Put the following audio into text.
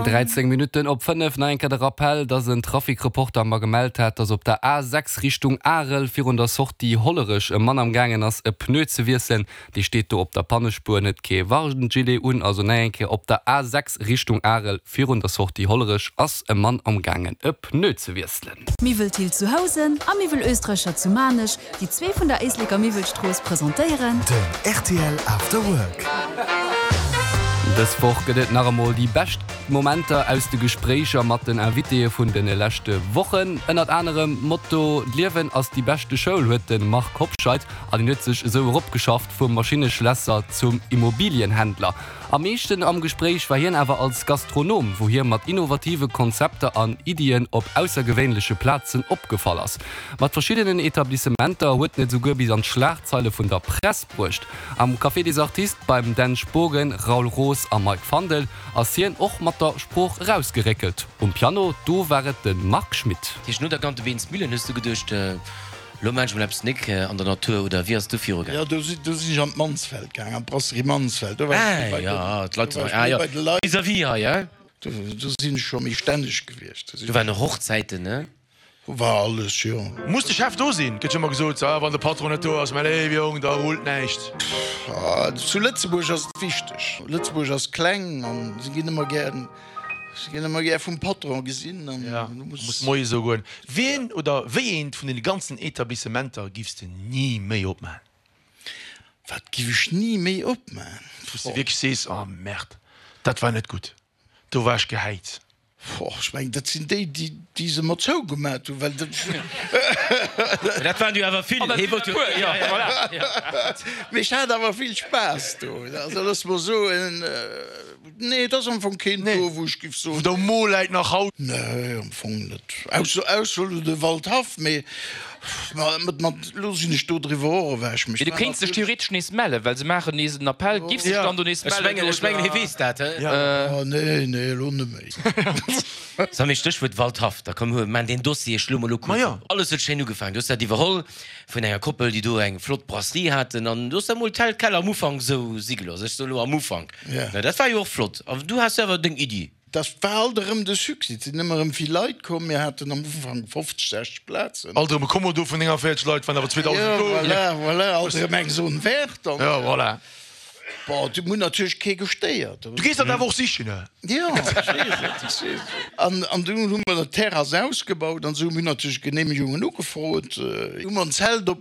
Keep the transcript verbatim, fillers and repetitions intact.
Dräizéng Minutten op fënnef, nach eng Kéier de Rappell, dass en Trafic-Reporter mer gemellt hat, dass op der A sechs Richtung Arel virun der Sortie Hollerech e Mann am gaangen ass e Pneu ze wiesselen. Dee steet do op der Pannespuer an huet kee Warngilet un. Also nach eng Kéier, op der A sechs Richtung Arel virun der Sortie Hollerech ass e Mann am gaangen e Pneu ze wiesselen. Miwwel Thill zu Housen a Miwwel Oesträcher zu Maarnech, déi zwee vun der Éisleker Miwwelstrooss presentéieren. Den rtl After Work. Dës Woch gëtt et nach emol déi bescht Momenter aus de Gespréicher mat den Invitéë vun de leschte Wochen. Ënnert anerem Motto D'Liewen ass déi beschte Schoul huet de Marc Hobscheit an hien huet sech esou eropgeschafft vum Maschinneschlässer zum Immobilienhändler. Am meeschten am Gespréich war hien awer als Gastronom, wou hie mat innovative Konzepter an Iddien op aussergewéinleche Plazen opgefall ass. Mat verschiddenen Etablissementer huet en et esouguer bis an d'Schlagzeile vun der Press bruecht. Am Café des Artistes beim Dan Spogen, Raoul Roos a Mike Fandel ass hien och mat der Sprooch erausgeréckelt. Um Piano, do war et de Marc Schmitt. Dat heescht, no der Gantebeensmillen hues du geduecht, Lo maan ech mol eppes nik an der Natur, oder wéi ass et du viru gaangen? Jo, do sinn do sinn ech an d'Mansfeld gaangen, an d'Brasserie Mansfeld. Do war ech méi bei Ah, den, jo, d'Leit do war sinn ech hei, ah méi jo, bei de Leit. vis-à-vis hei, hein? Do, do sinn ech scho méi stänneg gewiescht. Do Do sinn waren och Hochzäiten, ne? Do war alles, jo. Muss de Chef do sinn? Gëtt jo ëmmer gesot, ah, wann de Patron net do ass, mäi léiwe Jong, da rullt näischt. Ah, zu Lëtzebuerg ass et wichteg. Lëtzebuerg ass kleng an se ginn ëmmer gär, se ginn ëmmer gär vum Patron gesinn an Ja, du muss muss. moies esou goen. Wien oder wéi eent vun deene ganzen Etablissementer giffs de ni méi opmaen? Wat giff ech ni méi opmaen? Wou s de wierklech sees, oh Merde, dat war net gutt, do war ech gehäit. Boah, ech mengen, dat sinn déi, déi, déi se mer zougemat hunn, well dat. Mä dat waren jo awer vill. Hee wollt jo. Jo, voilà. Mee ech hat awer vill Spaass do. Also looss mer soen, nee, et ass am Fong keen do, wou ech giff soen. Wou der um Mo läit nach haut. Nee, am Fong net. Ausser, ausser elo de Waldhaff, mee ma mat, mat, elo sinn ech do driwwer och ewech. Mee Mee ech du war kéints dech natierlech. theoretesch nees mellen, well se maachen nees en Appell. Giffs dech Ja. dann do nees Ech mellen, mengen, ech mengen, hee oder? weess dat, he? Oh, nee, nee, elo net méi. Sag mee, Stéchwuert Waldhaff, da komm hu maan deen Dossier, ech schloe mol elo Ma kuerz jo. op. Alles huet schéin ugefaangen. Du hues dat iwwerholl vun enger Koppel, déi do eng flott Brasserie haten an du hues da mol tel quel am Ufank esou si gelooss. Ech soe lo am Ufank. Ja. Na, dat war jo och flott. An du has jo awer deng Iddi. Dat war alt erëm de Succès. Et sinn ëmmer erëm vill Leit komm. Mir haten am Ufank fofzeg, sechzeg Plazen. Alt erëm e Kommodo vun nénganvéierzeg Leit, waren awer zweedausend Jo, do. voilà, voilà, alt erëm eng Zone verte. An Jo, voilà. Bon, du hunn natierlech kee gestéiert. Du gees dat awer och sichen, ne? Jo, ech weess et, ech weess et. An, an dunn hu mer d'Terrass ausgebaut an esou. Mir hunn natierlech Genehmegungen ugefrot. Hu mer en Zelt opgestallt.